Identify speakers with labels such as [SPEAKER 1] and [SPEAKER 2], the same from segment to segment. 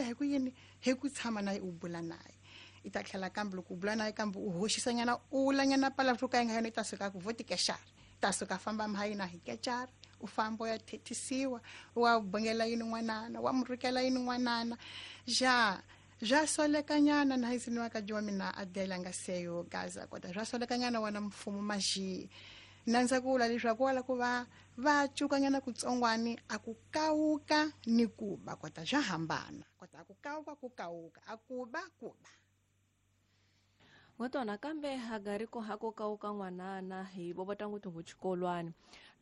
[SPEAKER 1] Hi ku yini? Hi ku tshama na u bula naye. I ta tlhela kambe loko u bula naye kambe u hoxisanyana u lanyana pala ka yi nga yona i ta suka ku voti kexara. Ta suka famba mhayina hi kexara. U famba u ya thethisiwa, wa bongela yini n'wanana, wa murukela yini n'wanana. Ja bya solekanyana na hisini wa ka wa mina Adela nga seyo Gaza kota bya solekanyana wana mfumo maxi. Nandza ku vula leswaku wala ku va va cukanyana kutsongwani a ku kawuka ni ku ba kota bya hambana. Kota a ku kawuka ku kawuka a ku ba ku ba.
[SPEAKER 2] Ngotona kambe hagariko hako kawuka n'wanana hi bobota nguthu nguchikolwani.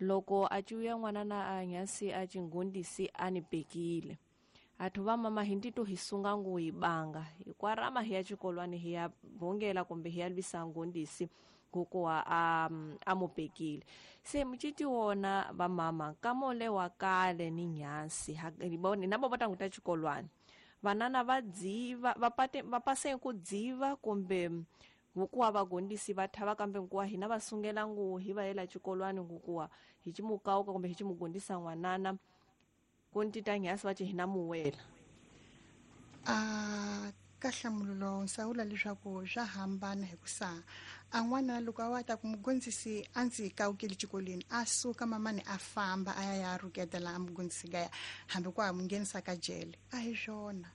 [SPEAKER 2] Loko a ciuya n'wanana a nyasi a chingundisi a ni bekile. Athu va mama hi ntito hi sunga ngu hi banga. Hi kwarama hi ya chikolwani hi ya bongela kumbe hi ya lwisa ngundisi kukuwa a mupekile. Se muchiti wona va mama kamole wa kale ni nyasi na bobota nguta chikolwani. Vanana va dziva va pate va pase ku dziva kumbe ngukuwa vagondisi va thava kambe ngukuwa hina va sungela ngu hi va yela chikolwani ngukuwa hi chimukauka kumbe hi chimugondisa n'wanana kuntita nyasi va hina muwela.
[SPEAKER 1] A ka nhlamulo nsawula leswaku swa hambana hi ku sa a n'wana loko a wa ta ku mugondzisi a ndzi kawukeli xikolweni a suka mamani a famba a ya ya ruketela a mugondzisi kaya hambi ku a mu nghenisa ka jele a hi swona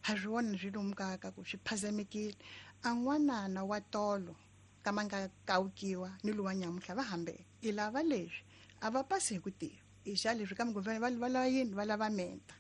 [SPEAKER 1] ha swi vona swi lomu ka ka ku swi phazamekile. A n'wanana wa tolo kama nga kawukiwa ni luwa nyamutlha va hambe i lava leswi a va pasi hi ku tiva i xa leswi kambe ku va lava yini va lava menta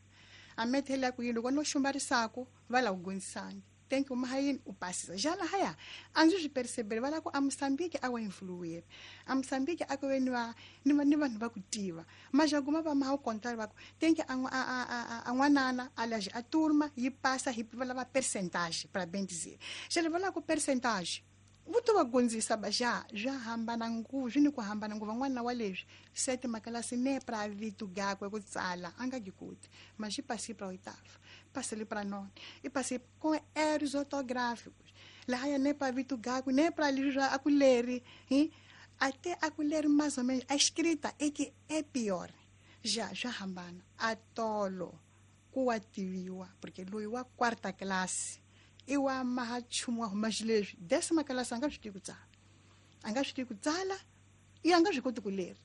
[SPEAKER 1] a methela ku yini loko no xumbarisako va la ku gondzisangi thank you mahayini u pasisa jana haya a ndzi swi percebele va la ku a Mozambique a wa influer a Mozambique a ku ve ni va ni vanhu va ku tiva majaguma va maha kontra va ku thank you a n'wanana a laje a turma yi pasa hi va lava percentage para bem dizer jale va la ku percentage vuto va gondzisa baja bya hambana ngopfu swi ni ku hambana ngopfu n'wana wa leswi sete makalasi ne pra vitu gakwe ku tsala a nga gikuti mas i passei para oitavo passei para nono e passei com erros ortográficos laha ya ne pra vitu gakwe ne pra livro a kuleri hein até a kuleri mais ou menos a escrita é que é pior já já hambana atolo ku wa tiviwa porque loyi wa quarta classe i wa maha nchumu wa huma xileswi décima classe a nga swi tivi ku tsala a nga swi tivi ku tsala i a nga swi koti ku leri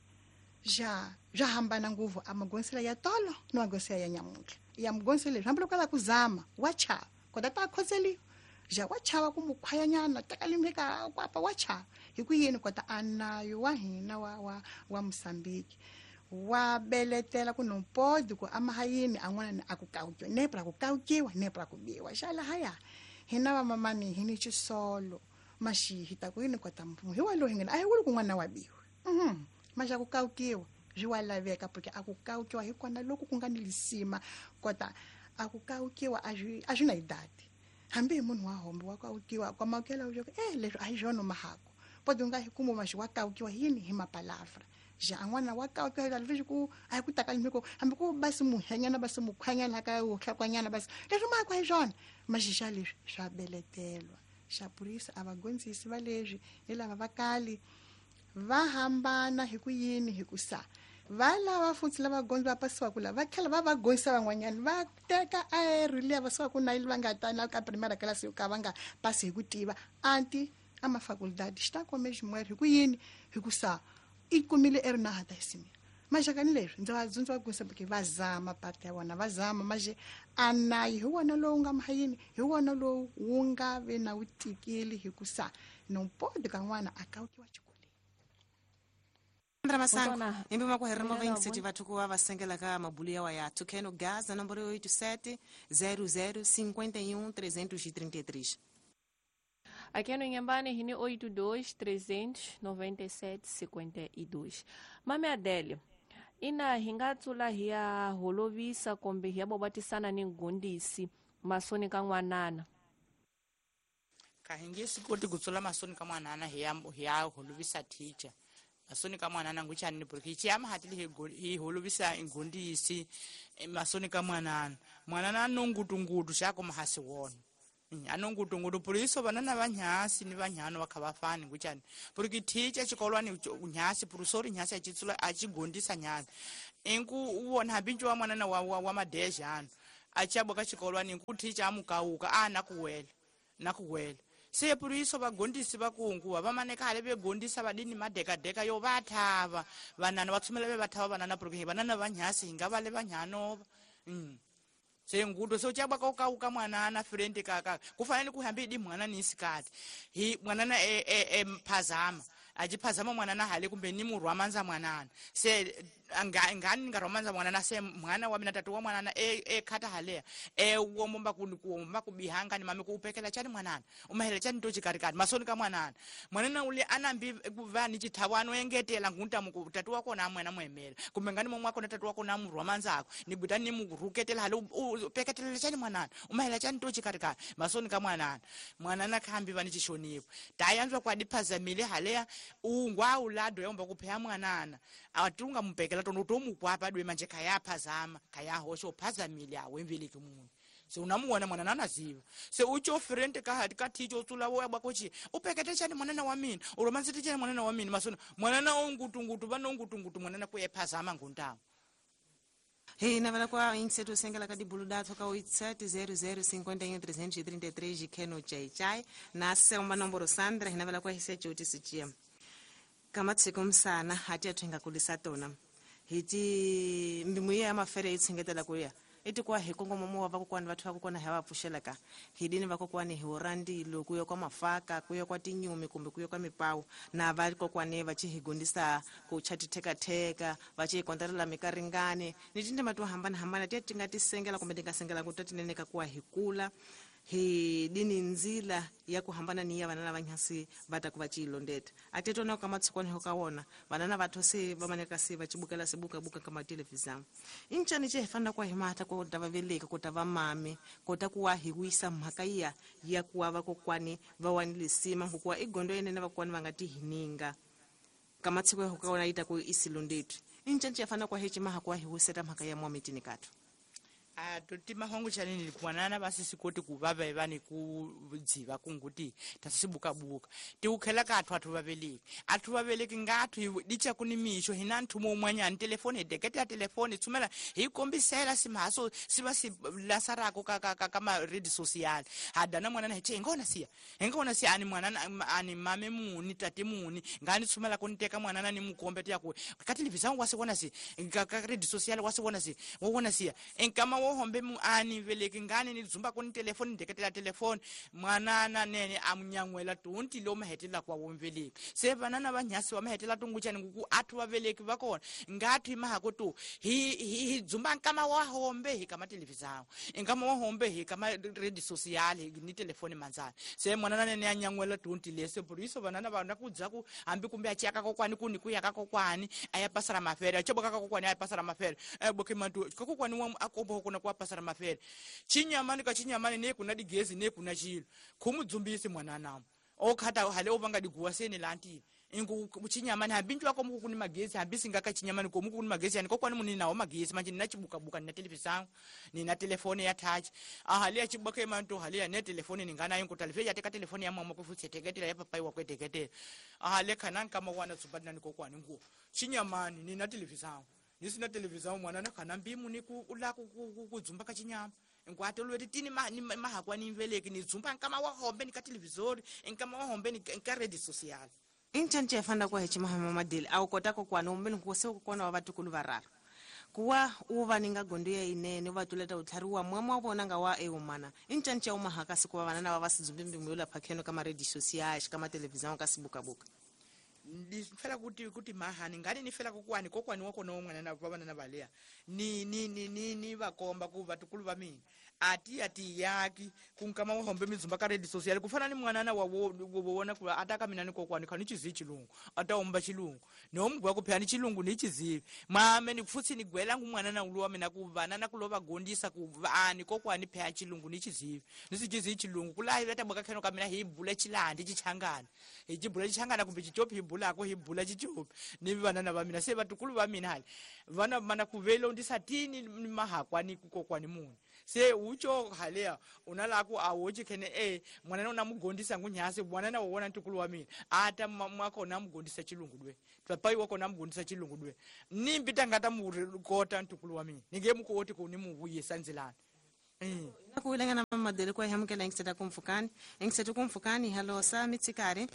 [SPEAKER 1] ja bya hambana ngopfu a magonsela ya tolo ni magonsela ya nyamuntlha ya mugonsela leswi hambiloko a lava ku zama wa chava kota ta khotseliwa ja wa chava ku mukhwayanyana teka limeka kwapa wa chava hi ku yini kota a nayo wa hina wa Mozambique wa beletela ku no pode ku amahayini a n'wana a ku kawukiwa ne pra ku kawukiwa ne pra ku biwa xa lahaya hina va mamani hi ni xisolo maxi hi ta ku yini kota mfumo hi wa loyi hi ngena a hi wuli ku n'wana wa biwa maxa ku kawukiwa swi wa laveka porque a ku kawukiwa hi kona loko ku nga ni lisima kota a ku kawukiwa a swi na idadi hambi hi munhu wa hombo wa kawukiwa kwa makela u leswi a hi swona mahako pode u nga hi kumu maxi wa kawukiwa yini hi mapalavra ja n'wana wa kawukiwa leswi ku a hi ku taka limiko hambi ku basi muhenyana basi mukhwanyana ka uhlakwanyana basi leswi mahako hi swona maxixa leswi swa beletelwa xa purisa a va gondzisi va leswi ni lava va kali va hambana hi ku yini hi ku sa va lava futhi lava gondzi va pasiwaka lava va tlhela va va gondzisa van'wanyana va teka aero liya va siwaka na va nga ta na ka primera class yo ka va nga pasi hi ku tiva anti a mafaculdade xi ta kome xin'wana hi ku yini hi ku sa i kumile eri na hata isimia maxakani leswi ndzi va dzundza va gondzisa porque va zama parte ya vona va zama maxe a nayi hi wona lowu nga mahayini hi wona lowu wu nga ve na wu tikeli hi ku sa no pode ka n'wana a kawukiwa xikolweni.
[SPEAKER 3] Andra Masango, imbi makuherema vaingiseti vathu kuva vasengela ka mabulu yawa ya Tucano Gaza, nomboro 87 00 51 333.
[SPEAKER 2] Aqui no Inhambane, Rini 82 397 52. Mame Adélia, ina hingatsula hiya holovisa kombe hiya bobatisana ni ngundisi masoni ka n'wanana.
[SPEAKER 4] Ka hinge sikoti kutsula masoni ka n'wanana hiya holovisa teacher. Masoni ka mwanana nguchani porque chiyama hatili hi holovisa ingundisi masoni ka mwanana. Mwanana nongutungutu chako mahasi wona. Anongutungutu puriso banana vanyasi ni vanyano vakavafani nguchani. Porque teacher chikolwani nyasi purusori nyasi achitsula achigondisa nyasi. Enku uwona habinju wa mwanana wa madeja ano. Achiabwa kachikolwani nkuticha amukauka ana kuwela nakuwela se puriso vagondisi vakunguva vamaneka hale vegondisa vadini madekadeka yo vathava vanana vatsumela ve vathava vanana porque vanana vanyasi hinga vale vanyanova se nguto se uchabwa kaukauka mwanana friend kaka kufanele kuhambe idi mwana ni isikati hi mwanana mphazama achiphazama mwanana hale kumbe ni murwamanza mwanana se ngani ngarwamanza mwanana se mwana wa mina tatu wa mwanana khata halea womomba kuomba kubihanga ni mami kuupekela chani mwanana umahela chani to chikarikati masoni ka mwanana mwanana ule anambi kuva ni chithawano engetela ngunta muku tatu wako na mwana mwemela kumbe ngani momwe wako na tatu wako na murwamanza ako ni buta ni muruketela hale upeketelela chani mwanana umahela chani to chikarikati masoni ka mwanana mwanana khambi va ni chishonipo tayanzwa kwadiphazamile halea ungwa ulado yomba kuphea mwanana atunga mupekela tono tomukwapa dwe manje khayaphazama khayahosha uphazamile awemveleki munhu se unamuona mwanana anaziva se ucho friend ka thicho utsula wo yabwa kochi upekete chani mwanana wa mina uromansete chani mwanana wa mina masona mwanana ongutungutu vana ongutungutu mwanana kuyephazama nguntamu.
[SPEAKER 3] Hey, na kwa inseto sengela ka dibulu datho ka 870051 333 kheno chai chai na selma nomboro Sandra hina kwa hisecho utisichia kama tsikumsana hati athenga kulisa tona hiti mbimuye amafere itsengetela kuya iti kwa hikongo momo wa vakokwani vathu vakokwana hi va pfuxelaka hidini vakokwani hi urandilo kuya kwa mafaka kuya kwa tinyumi kumbe kuya kwa mipawu na vakokwani va ci hi gondisa ku cha tithekatheka va ci hi kontelela mikaringani ni tindima to hambanahambana tiya ti nga ti sengela kumbe ti nga sengela ku ta tinene ka kuwa hi kula hi dini nzila ya kuhambana ni ya vanana vanyasi va ta ku va chilondeta atetona ka matshikwana ho ka wona vanana va those va maneka se va chibukela se buka buka ka matelevision inchani che fana kwa himata ko ta va veleka ko ta va mame ko ta kuwa hi wisa mhaka ya ya kuwa va kokwani va wani lesima kuwa igondo yenene va kwani va nga ti hininga ka matshiko ho ka wona ita ku isilondetu inchani che fana kwa hechima ha kwa hi wiseta mhaka ya mwamitini kathu.
[SPEAKER 4] Totima hongu chanini kuwanana basi sikoti kuvava evani kudziva kunguti tasisibukabuka tiukhela kathu athu vaveleki athu vaveleki ngathu dicha kuni misho hina nthumo umwanyani telefoni hideketela telefoni tsumela hikombisela simhaso siva silasarako ka maredi social hadana mwanana hiche ingona siya ani mwanana ani mame muni tate muni ngani tsumela kuniteka mwanana ni mukombe tiyaku ka television wasiwona si ka redi social wasiwona si wona siya enkama wohombe mu ani veleki ngani ni dzumba kuni telefoni ndeketela telefoni mwanana nene amunyangwela tonti lo mahetela kwa womveleki se vanana vanyasi wa mahetela tunguchani nguku athu vaveleki vakona ngathi mahako tu hi dzumba nkama wa hombe hi kama television nkama wa hombe hi kama redi social ni telefoni manzana se mwanana nene anyangwela tonti lese buriso vanana vana kudzaku hambi kumbe achaka kokwani kuni kuyaka kokwani ayapasara mafere achoboka kokwani ayapasara mafere boke mantu kokwani wa akombo kuna kwa pasara mafere chinyamani ka chinyamani ne kuna digezi ne kuna chilo khumudzumbisi mwanana okhata hale obanga diguwa sene lanti ingu chinyamani hambinjwa ko muku kuni magezi hambisi ngaka chinyamani ko muku kuni magezi yani kokwani munini nawo magezi manje nina chibukabuka nina television nina telefone ya touch ahali ya chibuka mantu hali ya ne telefone ningana yingu telefone ya teka telefone ya mama kufutse teketela ya papai wa kweteketela ahali kana nkama wana tsubadina ni kokwani ngu chinyamani nina television nisina television mwanana kana mbimu ni ku ula ku dzumba ka chinyama nkwatolweti tini mahakwa ni mveleki ni dzumba nkama wa hombe ni ka televisori nkama wa hombe ni ka redi social
[SPEAKER 3] inchanje fanda kwa hechima hama madili au kota kokwani umbeni kose kokwana wa vatukulu vararu kuwa uva ninga gondo ya inene vatuleta utlhariwa mwamwa vona nga wa eumana inchanje umahaka sikuva vanana va vasidzumbi mbimu phakeno ka maredi social ka television ka sibukabuka
[SPEAKER 4] ndifela kuti mahani ngani nifela kokwani kokwani wako no mwana na baba na balea ni ni ni ni ni vakomba ku vatukulu va mina ati ati yaki kunkama wa hombe mizumba ka redi social kufana ni mwanana wa wona ku ataka mina ni kokwani khani chizi chilungu ataomba chilungu nomgwa kuphani ni chilungu ni chizivi mame ni futsi ni gwela ngu mwanana uluwa mina ku vanana kulova gondisa ku ani kokwani phaya chilungu ni chizivi ni sichizi chilungu kulahi leta bwaka kheno ka mina hi bula chilandi chichangana hi chibula chichangana kumbe chichopi hi bulako hi bula chichopi ni vanana va mina se vatukulu va mina hali vana mana kuvelo ndisatini ni mahakwani kukokwani muni se ucho halea unalaku awochi khene mwanana unamugondisa ngunyasi mwanana wona ntukulu wa mina ata mwako namugondisa chilungu dwe papai wako namugondisa chilungu dwe nimbi tangata mukota ntukulu wa mina ninge mukoti kuni muvuyisa nzilani.
[SPEAKER 3] Na ku wilanga na mamadele kwa hamukela ingiseta kumfukani ingiseta kumfukani halosa mitsikare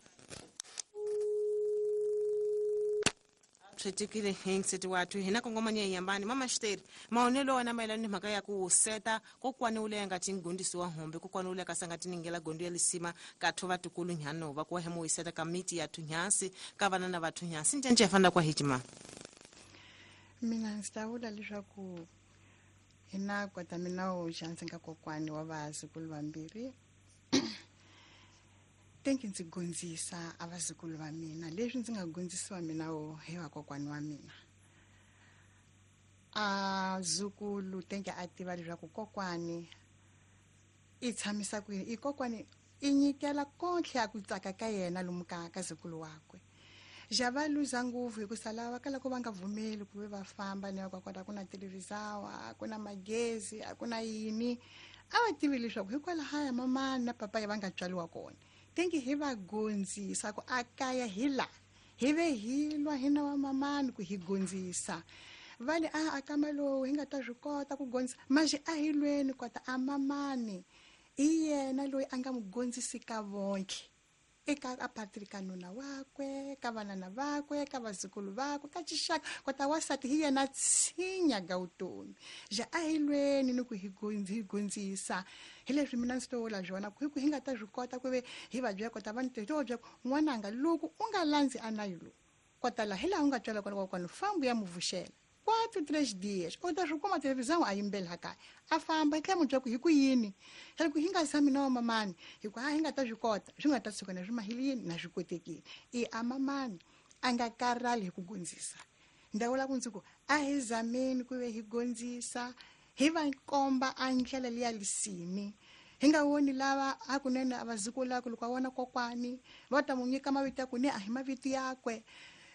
[SPEAKER 3] twetikile ingiseti watu hina kongomani ya yambani mama Xiteri maonelo wana maelano ni mhaka ya ku seta kokwani ule nga tingondisi wa hombe kokwani ule kasanga tiningela gondo ya lisima katho vatukulu nyano va kwa hemo iseta kamiti ya tunyasi ka vana na vathu nyasi njenje fanda kwa hijima
[SPEAKER 1] mina ndzi ta vula leswaku hina kota mina wo xansi nga kokwani wa vazukulu vambirhi tenki ndzi gondzisa a vazukulu va mina leswi ndzi nga gondzisiwa mina wo hi vakokwani wa mina a zukulu tenki a tiva leswaku kokwani i tshamisa ku yini i kokwani i nyikela kontlhe ya ku tsaka ka yena lomu ka zukulu wakwe ja va luza ngopfu hi ku sala va kala ku va nga vumeli ku ve va famba ni va kota ku na televizawa a ku na magezi a ku na yini a va tivi leswaku hikwalahaya mamani na papaya va nga tswaliwa kona tenki hi va gondzisa ku a kaya hi la hi ve hi lwa hina wa mamani ku hi gondzisa va le a kama lowu hi nga ta swi kota ku gondzisa manje a hi lweni kota a mamani i yena loyi a nga mu gondzisi ka vonke eka a patri ka nuna wakwe ka vanana vakwe ka vazukulu vakwe ka xixaka kota wasati hi yena tshinya ga vutomi ja a hi lweni ni ku hi gondzisa hi leswi mina ndzi to vula swona ku hi ku hi nga ta swi kota ku ve hi va byela kota va ni to byela n'wananga loko u nga landzi a nayi lowu kota laha hi laha u nga tswela kona kokwana fambu ya mu vuxela 4 3 dias u ta swi kuma televisão a yimbela kaya a famba hi tlhela mu byela ku hi ku yini hi ku hi nga zami na wa mamani hi ku a hi nga ta swi kota swi nga ta tshuka na swi mahile yini na swi kotekile i a mamani a nga karhali hi ku gondzisa ndza vula ku ndzi ku a hi zameni ku ve hi gondzisa hi va komba a ndlela liya lisimi hi nga voni lava hakunene a vazukulu ku loko a vona kokwani va ta mu nyika mavito ya ku ne a hi mavito yakwe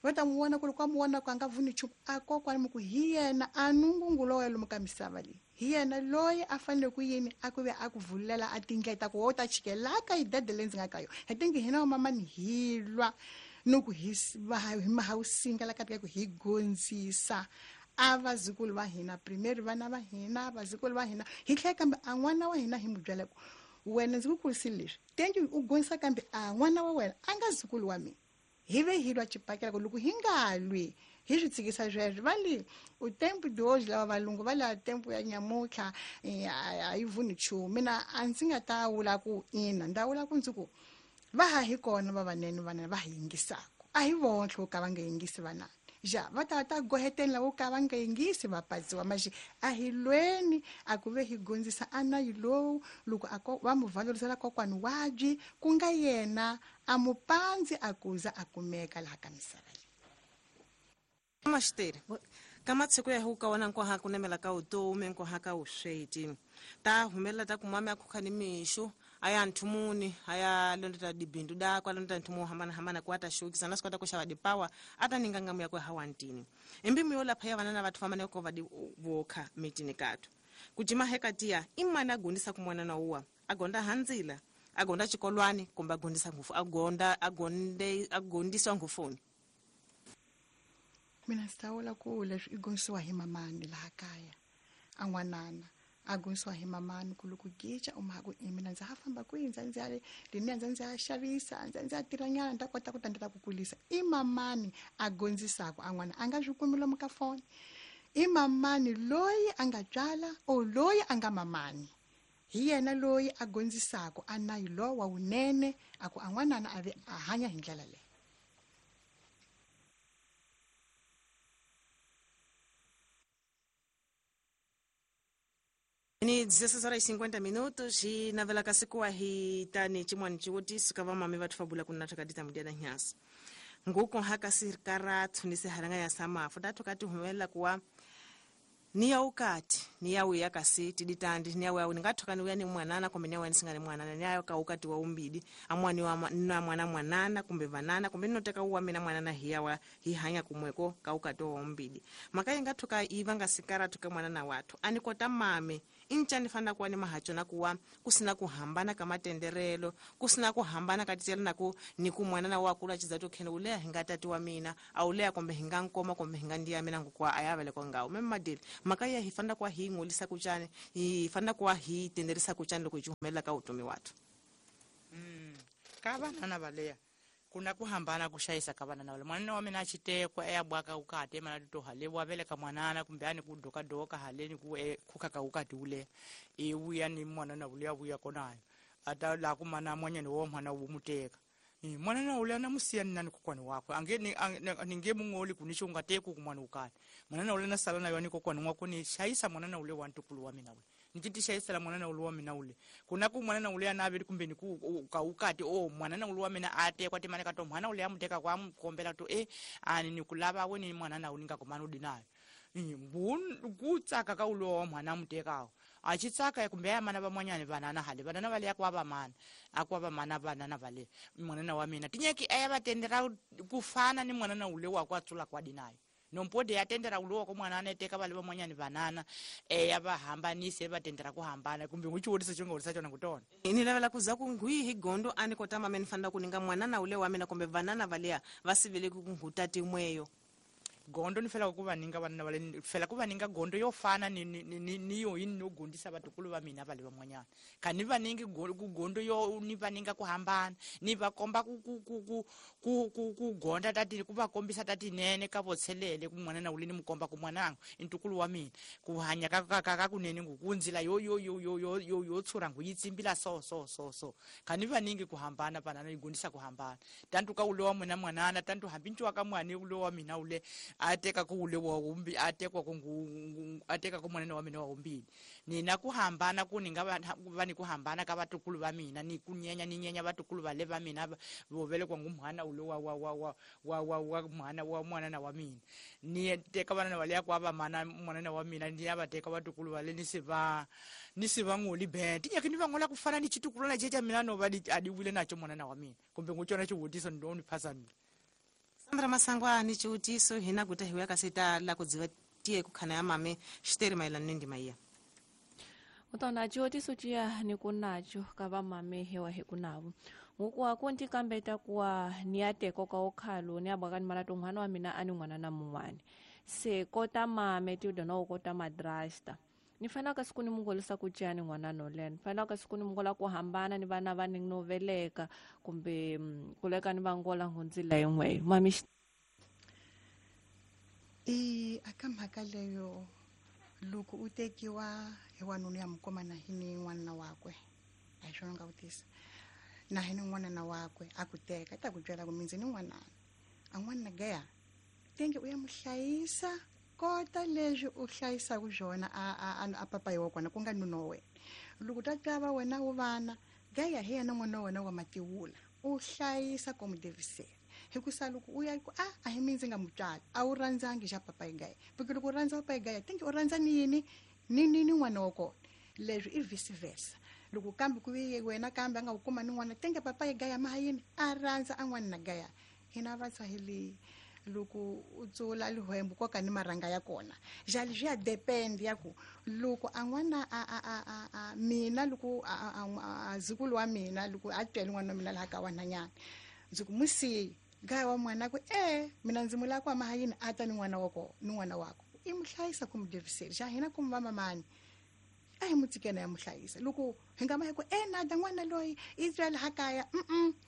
[SPEAKER 1] va ta n'wi vona ku loko a mu vona ku a nga vuni nchumu a kokwani mi ku hi yena a nungungulo wa lomu ka misava leyi hi yena loyi a fanele ku yini a ku ve a ku vulela a tindlela ta ku wo ta chikela ka yidede leyi ndzi nga ka yona hi tingi hina wa mamani hi lwa ni ku hi mahawusinga la ka ku hi gondzisa a vazukulu va hina primary vana va hina vazukulu va hina hi tlhela kambe a n'wana wa hina hi mu byela ku wena ndzi ku kurisile leswi tenki u gondzisa kambe a n'wana wa wena a nga zukulu wa mina hi ve hi lwa xibakela ku loko hi nga lwi hi swi tshikisa sweswo va le u tempo de hoje lava valungu va la tempo ya nyamutlha a yi vuni nchumu mina a ndzi nga ta vula ku ina ndza vula ku ndzi ku va ha hi kona vavanene vana va hi yingisaka a hi vontlhe wo ka va nga yingisi vanana ja va ta ta goheteni lavo ka va nga yingisi va patsiwa maxi a hi lweni a ku ve hi gondzisa a nayi lowu loko a va mu valorisela kokwani wabyi ku nga yena a mu pandzi a kuza a kumeka laha ka misava leyi
[SPEAKER 3] Maxiteri ka matshiko ya huka wana nkoha ku nemela ka vutomi nkoha ka vusweti ta humelela ta kumami a khukha ni mixo a ya nthumuni a ya londota dibindu dakwe a londota nthumu wo hambanahambana ku a ta xokisa na swi kota ku xava dipawa a ta ninga ngamu yakwe hawantini imbimu yo lapha ya vana na vathu vamane ko va di vokha mitini kathu ku jima hekatiya i mani a gondisa ku mwana na uwa a gonda handzila a gonda xikolwani kumbe a gondisa ngufu a gonda a gonde a gondiswa ngufuni
[SPEAKER 1] mina ndzi ta vula ku leswi i gondisiwa hi mamani laha kaya a n'wanana a gondisiwa hi mamani ku loko gica u mhaka ku i mina ndza ha famba kwihi ndza ndzi ya leniya ndza ndzi ya xavisa ndza ndzi ya tirhanyana ni ta kota ku ta ndzi ta ku kulisa i mamani a gondzisaka a n'wana a nga swi kumi lomu ka foni i mamani loyi a nga tswala or loyi a nga mamani hi yena loyi a gondzisaka a nayi lowa wa wunene a ku a n'wanana a ve a hanya hi ndlela leyi
[SPEAKER 3] ni 16:50 minutos hi navela ka sikuwa hi tani chimwani chiwotiso ka vamami vathu va bula ku na thaka ditamu dia nyasi nguko haka sirikara thunise haranga ya samafu tatu kati humelela kuwa ni ya ukati ni ya uya kasi tiditandi ni ya uya ningathoka ni uya ni mwanana kumbe ni ya uya nisingani mwanana ni ya ka ukati wa umbidi amwani wa na mwana mwanana kumbe vanana kumbe ninoteka uwa mina mwanana hiya wa hi hanya kumweko ka ukati wa umbidi makaye ngathoka ivanga sikara tuka mwanana watu anikota mame incha nifana kuwa ni mahacho na kuwa kusina kuhambana kama tenderelo kusina kuhambana katitela na ku ni ku mwanana wa kula chizato kene ulea hinga tati wa mina aulea kumbe hinga nkoma kumbe hinga ndiya mina ngukwa ayavele kwa ngao meme madili makaya hifanda kwa hii ngolisa ku cani hi fanele ku wa hi tenderisa ku cani loko hi humelela ka vutomi wathu.
[SPEAKER 4] Ka vanana valeya kuna ku hambana ku xayisa ka vanana vale mwanana wa mina a xitekwa eyabwaka ukati emana to hale wa veleka mwanana kumbe ani ku dokadoka haleni ku khuka ka ukati ule i vuya ni mwanana ule a vuya konayo ata la ku mana mwanyana wa mwana wu muteka mwanana ule ana musiya nani kokwani wakwe ange ni nge mungoli kunisho ungateku ku mwana ukati mwanana ule na sala nayo ni kokwani wako ni xayisa mwanana ule wa ntukulu wa mina ule nititi xayisela mwanana ule wa mina ule kuna ku mwanana ule anaveli kumbe ni ku ka ukati o mwanana ule wa mina atekwa timane ka to mwana ule amuteka kwa mkombela to ani ni kulava we ni mwanana ule nga kumana udinayo ku tsaka ka ule wa mwana amutekawo achitsaka kumbe ya mana vamwanyani vanana hale vanana vale akwa vamana akwa vamana vanana vale mwanana wa mina tinyeki aya vatendera kufana ni mwanana ule wa kwa tsula kwa dinayo nompode yatendera ulowa ko mwana aneteka vale vamwanyani vanana eya va hambanise va tendera ku hambana kumbe n'wi xiwuriso xo nga wurisa xona ku tona.
[SPEAKER 3] Ni lavela ku za ku ngwihi hi gondo a ni kota mame ni fanela ku ninga mwanana ule wa mina kumbe vanana valeya va siveleki ku nghuta timweyo.
[SPEAKER 4] Gondo ni fela ku va ninga vanana vale fela ku va ninga gondo yo fana ni ni ni ni yo yini no gondisa vatukulu va mina vale van'wanyana ka ni va ningi ku gondo yo ni va ninga ku hambana ni va komba ku ku ku ku ku ku ku gonda tati ku va kombisa tatinene ka votshelele ku mwanana ule ni mu komba ku mwanangu i ntukulu wa mina ku hanya ka ka ka ka kunene ngu ku ndzila yo yo yo yo yo yo yo tshura ngu yi tsimbila so so so so ka ni va ningi ku hambana vanana yi gondisa ku hambana tantu ka ule wa mina mwanana tantu hambi nciwa ka mwani ule wa mina ule ateka ku ule wa umbi atekwa ku ateka ku mwanana wa mina wa umbili nina ku hambana ku ni nga va ni ku hambana ka vatukulu va mina ni ku nyenya ni nyenya vatukulu va le va mina vo velekwa ngu mhana ule wa wa wa wa wa wa wa mhana wa mwanana wa mina ni teka vanana va le kwa va mana mwanana wa mina ni ya va teka vatukulu va le ni se va ni se va ngoli be tinyaki ni va ngola ku fana ni xitukulwana xe xa mina no va adiwile nacho mwanana wa mina kumbe ngu cona xivutiso ni ni phasa mina.
[SPEAKER 3] Sandra Masangwa ni xivutiso hina guta hi wuya kasi ta la ku dziva tiye ku khana ya mame xiteri mayelana ni ndima iya.
[SPEAKER 2] Utona xivutiso ciya ni ku nacho ka va mame hewa hi ku navo ngukuwa ku ndi kambeta kuwa ni ya teko ka okhalo ni ya bwaka ni mara to n'wana wa mina a ni n'wana na mun'wani se kota mame ti dona u kota madrasta ni fanele ka siku ni mungolisa ku ciya ni n'wana no leha ni fanele ka siku ni mungola ku hambana ni vana va ni no veleka kumbe ku leka ni va ngola ngundzila yin'weyo mami.
[SPEAKER 1] I aka mhaka leyo loko u tekiwa hi wanuna ya mukoma na hi ni n'wanuna wakwe a hi swona nga vutisa na hi ni n'wanuna wakwe a ku teka ta ku byela ku mindzi ni n'wanana a n'wanuna gaya tenge u ya mu hlayisa kota leswi u hlayisaka swona a papayi wa kona ku nga nuna wa wena loko ta twa va wena wu vana gaya hi yena n'wana wa wena wa matiwula u hlayisa ku mu devisela hikusa loko u ya ku a hi mindzi nga mutswali a wu rhandzangi xa papayi gaya porque loko u rhandza papayi gaya tenge u rhandza ni yini ni ni ni n'wana wa kona leswi i vice versa loko kambe ku ve wena kambe a nga wu kuma ni n'wana tenge papayi gaya ma yini a rhandza a n'wana na gaya hina va tswahili loko u tsula lihwembu koka ni marhanga ya kona jali swi ya depend ya ku loko a n'wana a mina loko a zukulu wa mina loko a twele n'wana wa mina laha ka wanhanyana ndzi ku musiyi gaya wa n'wana ku mina ndzi mu lava ku ama yini a ta ni n'wana wa kona ni n'wana wakwe i mu hlayisa ku mu deviseli xa hina ku mu va mamani a hi mu tsikena ya mu hlayisa loko hi nga ma hi ku nada n'wana loyi i twele ha kaya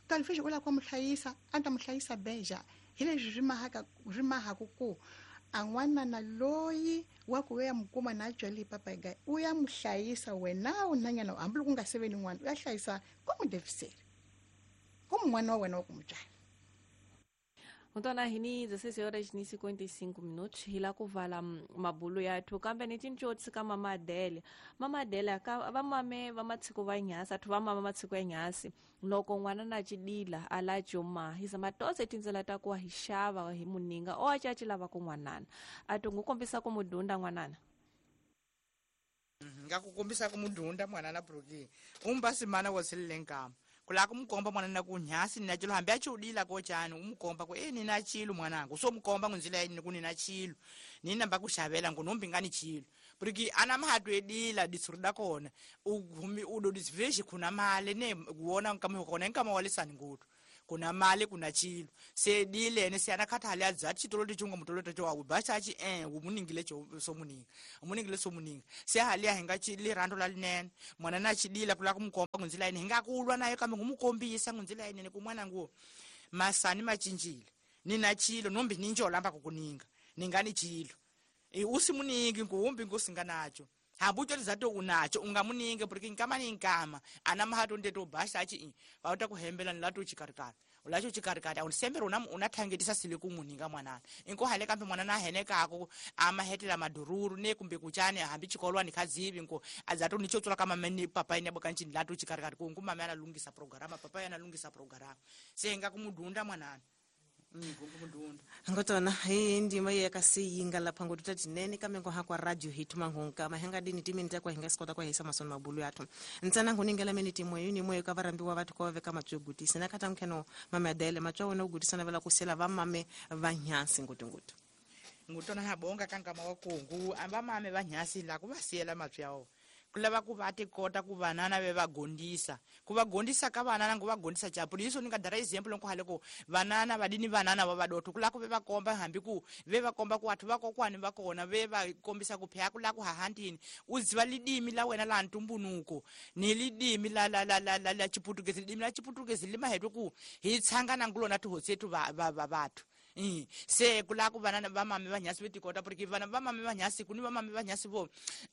[SPEAKER 1] kalifixi u lava ku mu hlayisa a ta mu hlayisa beja hi leswi swi mahaka swi mahaku ku a n'wanana loyi wa ku ya mu kuma na byele hi papayi gaya u ya mu hlayisa wena u nanyana hambi loko u nga seveni n'wana u ya hlayisa ku mu deviseli ku n'wana wa wena wa ku mu byala.
[SPEAKER 2] Ntwana hini 16 horas ni 55 minutos hi la ku vala mabulu yathu kambe ni tincotsi ka mama Adele. Mama Adele ka va mame va matshiko va nyhasi athu va mama matshiko ya nyhasi loko n'wana na cidila a la juma hi zama tose tindzela ta ku hi xava hi muninga o a caci lava ku n'wanana a to n'wi kombisa ku mudunda n'wanana.
[SPEAKER 4] Nga ku kombisa ku mudunda n'wanana Brookie umba simana wa tshilele nkama kula ku mukomba mwanana ku nyhasi nina chilo hambi a chiudila ko chani umukomba ku nina chilo mwanangu so mukomba ngunzila yini ku nina chilo nina mba ku xavela ngu nombi nga ni chilo porque ana mahatu edila ditsuri da kona u humi u do disveshi kuna male ne kuona nkama kona nkama walisani ngutu Kuna mali kuna chilo se dilene se anakhatha le adza chitolo tichunga mutolo tacho wa bacha chi umuningile cho somuninga umuningile somuninga se hali ahinga chi lirando la linene mwana na chidila kula kumkomba kunzila ine hinga kulwa nayo kambe ngumukombisa kunzila ine kumwana nguo masani machinjile nina chilo nombi ninjola amba kukuninga ningani chilo usimuningi ngumbi ngosinganacho hambucho lizato unacho ungamuninge porque nkama ni nkama ana mahato ndeto basha achi pauta kuhembela nilato chikarikari ulacho chikarikari awunisembera unathangetisa sile kumuninga mwanana inko hale kambe mwanana ahenekako amahetela madururu ne kumbe kuchane hambi chikolwani khazivi nko azato nichotsula kama mene papa ine bokanchi nilato chikarikari kungu mama analungisa programa papa analungisa programa senga kumudunda mwanana
[SPEAKER 3] ngotona hi ndima yekasiyinga lapha ngotuta tinene kambe ngo hakwa radio hituma ngonka mahenga dini timini takwa hinga sikota kwa hisa masoni mabulu yathu ntsana nguningela mini timwe yini mwe ka varambiwa vathu kwa veka matswegutisi na khata mkheno mamadele matswa wona ugutisana vela kusela va mame va nyansi ngutungutu
[SPEAKER 4] ngutona habonga kankama wa kungu amba mame va nyasi la ku va siyela matswawo kulava ku va tikota ku vanana ve va gondisa ku va gondisa ka vanana ngo va gondisa chapu iso ni nga dara example nko hale ku vanana vadini vanana va vadotho kula ku ve va komba hambi ku ve va komba ku athu va kokwani va kona ve va kombisa ku phya kula ku hahantini u ziva lidimi la wena la ntumbunuko ni lidimi la la la la la chiputukezi lidimi la chiputukezi limahetwe ku hi tshangana ngulona tihotsetu va va va vathu se kula ku vanana va mame va nyasi vetikota porque vana va mame va nyasi kuni va mame va nyasi vo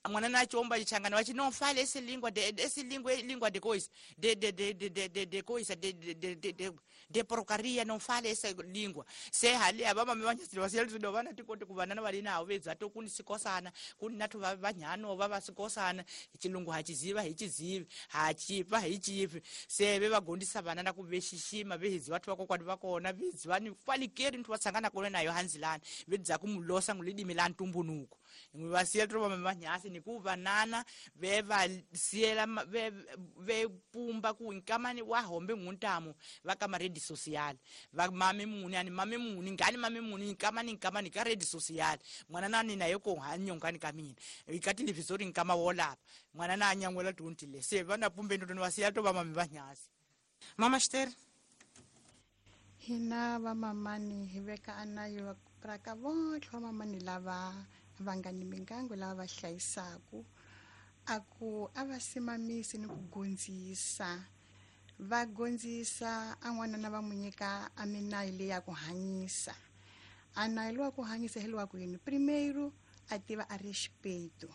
[SPEAKER 4] mwana na chomba chichangana vachi no fale ese lingua de ese lingua lingua de coisa de de de de de de de coisa de de de de de de porcaria não fale essa língua se hali aba mame va nyasi va siyela do vana tikote ku vanana va linawo vedza to kuni sikosana kuni nathu va vanyano va va sikosana chilungu hachiziva hichizivi hachipa hichipi se ve va gondisa vanana ku vexixima vehiziva vathu vakokwani va kona veziva ni kwalikeri nthu vatsangana kona nayo hanzilani vedza kumulosa ngulidimi la ntumbunuko ngwi va siyela to va manyasi ni ku vanana ve va siyela ve ve pumba ku nkamani wa hombe nguntamu va ka redi social va mame muni ani mame muni ngani mame muni nkamani nkamani ka redi social mwana nani naye ko hanyongani ka mina ikati livisori nkama wolapa mwana na anyangwela tuntile se vana pumbe ndo va siyela to va mame vanyasi
[SPEAKER 3] mama Esther
[SPEAKER 1] hina vamamani hi veka anayo ra ka vontlhe vamamani lava va nga ni mingango lava va hlayisaku a ku a va simamisi ni ku gondzisa va gondzisa a n'wanana va mu nyika a minayo leyi ya ku hanyisa a nayo lowa ku hanyisa hi lowa ku yini primeiro a tiva a respeito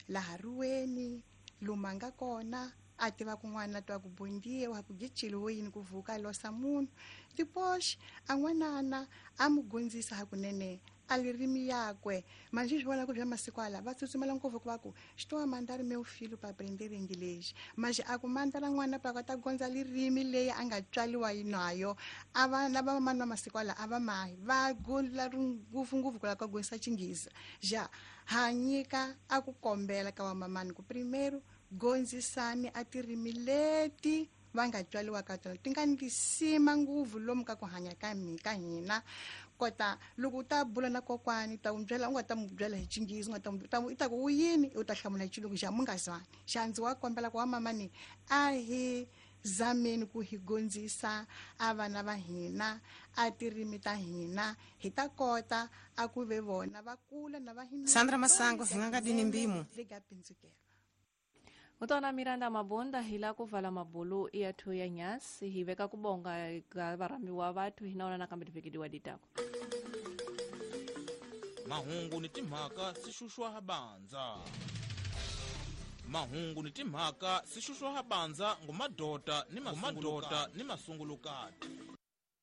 [SPEAKER 1] laha ruweni lomu a nga kona a tiva kun'wana twa ku bondiwa wa ku giciliwe yini ku vuka losa munhu depois a n'wanana a mu gondzisa hakunene a lirimi yakwe manje swi vona ku bya masiku ala va tsutsumela ngopfu ku va ku estou a mandar meu filho para aprender inglês mas a ku mandala n'wana pa ta gondza lirimi leyi a nga tswaliwa nayo a vana va mani va masiku ala a va mahi va gula ngopfungopfu ku lava ku gondzisa xinghezi ja ha nyika a ku kombela ka vamamani ku primeiro gondzisani a tirimi leti va nga tswaliwa ka tona ti nga ni sima ngopfu lomu ka ku hanya ka ka hina kota loko u ta bula na kokwani ta n'wi byela u nga ta n'wi byela hi xinghezi u nga ta i ta ku u yini u ta hlamula hi xilungu xa mu nga zwani xa ndzi wa kombela ku wa mamani a hi zameni ku hi gondzisa a vana va hina a tirimi ta hina hi ta kota a ku ve vona va kula na va hina
[SPEAKER 3] Sandra Masango hi nga dini mbimo
[SPEAKER 2] Mutwana Miranda Mabonda hila kuvala mabulu yathu ya nyasi hiveka kubonga ka varamiwa vathu hinaona nakambe tivekediwa ditako
[SPEAKER 5] mahungu ni timhaka sixuxwa habanza mahungu ni timhaka sixuxwa habanza ngumadota ni masungulukati.